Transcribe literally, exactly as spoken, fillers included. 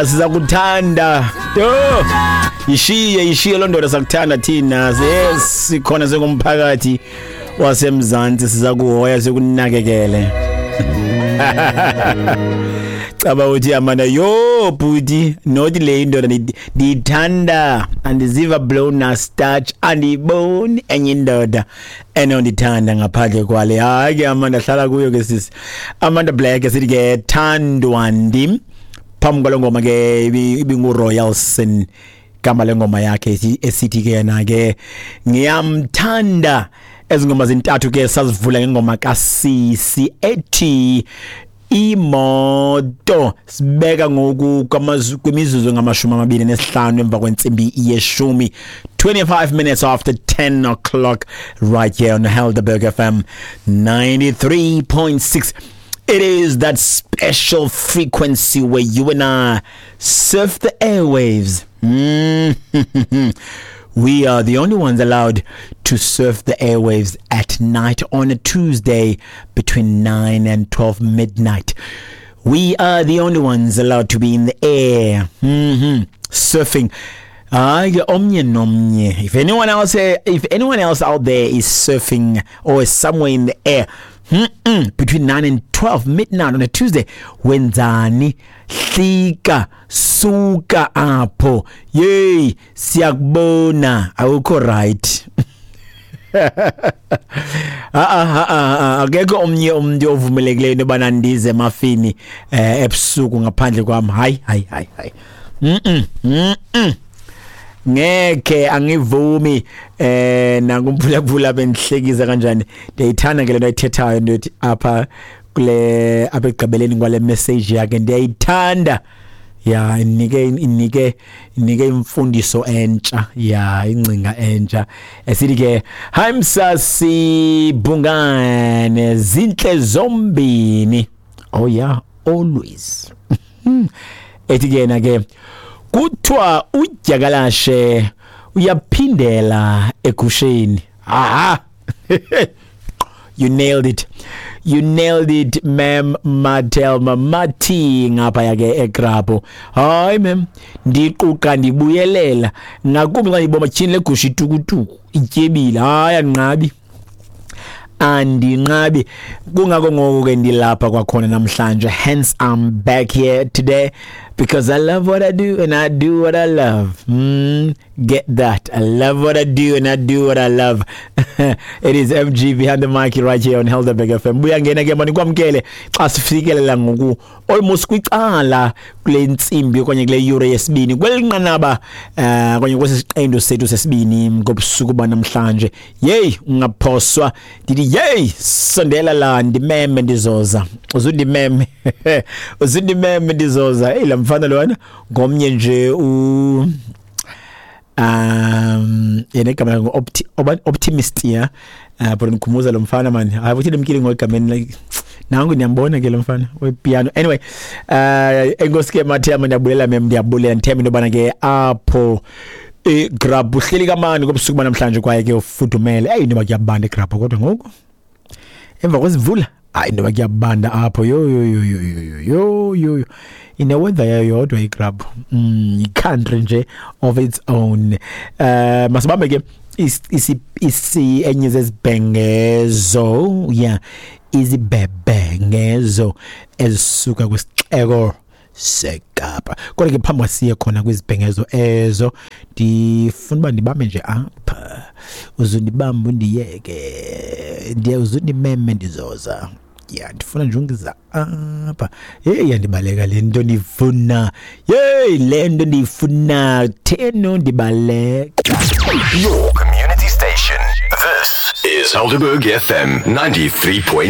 Sizakuthanda. Yho, yishiye, yishiye loo ndoda, sakuthanda thina. Yes, sikhona sengumphakathi waseMzantsi, siza kuhoya, sikunakekele. Caba uthi amana yo bhuti, not le indoda ndiyithanda, andiziva blown na starch, andiyiboni enye indoda enondithanda ngaphandle kwale. Hayi ke Amanda, hlala kuyo ke sisi. Amanda Black, sithi ke thandwa ndim. Phambi kwale ngoma ke ibinguRoyalson, igama lengoma yakhe esithi ke yena ke ngiyamthanda. Ezi ngoma zintathu ke sazivula ngengoma kaSisi ethi imoto. Sibeka ngoku kwimizuzu ngamashumi amabini nesihlanu emva kwentsimbi yeshumi, twenty-five minutes after ten o'clock, right here on Helderberg F M ninety-three point six. It is that special frequency where you and I surf the airwaves. Mm. We are the only ones allowed to surf the airwaves at night on a Tuesday between nine and twelve midnight. We are the only ones allowed to be in the air. Mm-hmm. Surfing. Hayi ke omnye nomnye. If anyone else if anyone else out there is surfing or is somewhere in the air mm-mm, between nine and twelve midnight on a Tuesday, wenzani? Hlika, suka apho. Yey, siyakubona, awukho right. Ah ah ah, akekho omnye umuntu ovumelekileyo into yobana ndize emafini eh ebusuku ngaphandle kwami. Hayi, hayi, hayi, hayi. Mm mm. Ngeke, angivumi. eh nakumphulaphula bendihlekisa kanjani, ndiyayithanda ke le nto ayithethayo, into ethi apha kule apha ekugqibeleni kwale message yakhe, ndiyayithanda. Ya, inike inike inike imfundiso entsha, ya, ingcinga entsha. Esithi ke, "Hayi msasi Bhungane, zinhle zombini." Oh yeah, always. Ethi ke yena ke, kuthiwa udyakalashe uyaphindela egusheni. Aha, you nailed it, you nailed it, Ma'am Matelma Mati ngapha yake eGrabho. Hayi ma'am, ndiquqa ndibuyelela, ngakumbi xa ndibona tyhini legusha itukutuku, ityebile. Hayi, andinqabi, andinqabi. Kungako ngoku ke ndilapha kwakhona namhlanje. Hence I'm back here today, because I love what I do and I do what I love. Mm, get that? I love what I do and I do what I love. It is M G behind the mic right here on Helderberg F M. Buya ngena ke mani, kwamkele xa sifikelela ngoku almost kwicala kule ntsimbi okanye kule yure yesibini kweli nqanaba eh okanye kwesi siqendu sethu sesibini ngobusuku banamhlanje. Yey, ungaphoswa. Ndithi yey, sondela la, ndimeme ndizoza, uzundimeme, uzundimeme ndizoza. Hey, la mfana lwana ngomnye nje u um yena igama lakhe ngu-Opti- optimist ya. uh, but ngikhumuza lo mfana man, hayi uthi lemkile ngogameni like nangu, niyambona ke lo mfana wepiano. Anyway, uh enkosi ke Mathema, ndiyabulela mem, ndiyabulela. Ndithemba into yobana ke apho igrab uhleli kamani ngobusuku banamhlanje kwaye ke ufudumele. Eyi, noba kuyabanda egrabho, kodwa ngoku emva kwezimvula, hayi, noba kuyabanda apho. Yo yo yo yo yo yo yo yo, ine-weather yayo yodwa igrab, mm, i-country nje of its own. uh masibambe ke isi isi, isi enye zezibhengezo, yeah, izibhebhengezo ezisuka kwisixeko seKapa. Kodwa ke phambi kwasiye khona kwizibhengezo ezo, ndifuna uba ndibambe nje apha. Uzundibambe undiyeke, ndiye uzundimeme ndizoza. Ya, ndifuna nje ungiza apha. Hey, yandibaleka le nto ndifuna. Hey, le nto ndifuna theno ndibaleka. Your community station. This is Helderberg F M ninety-three point six.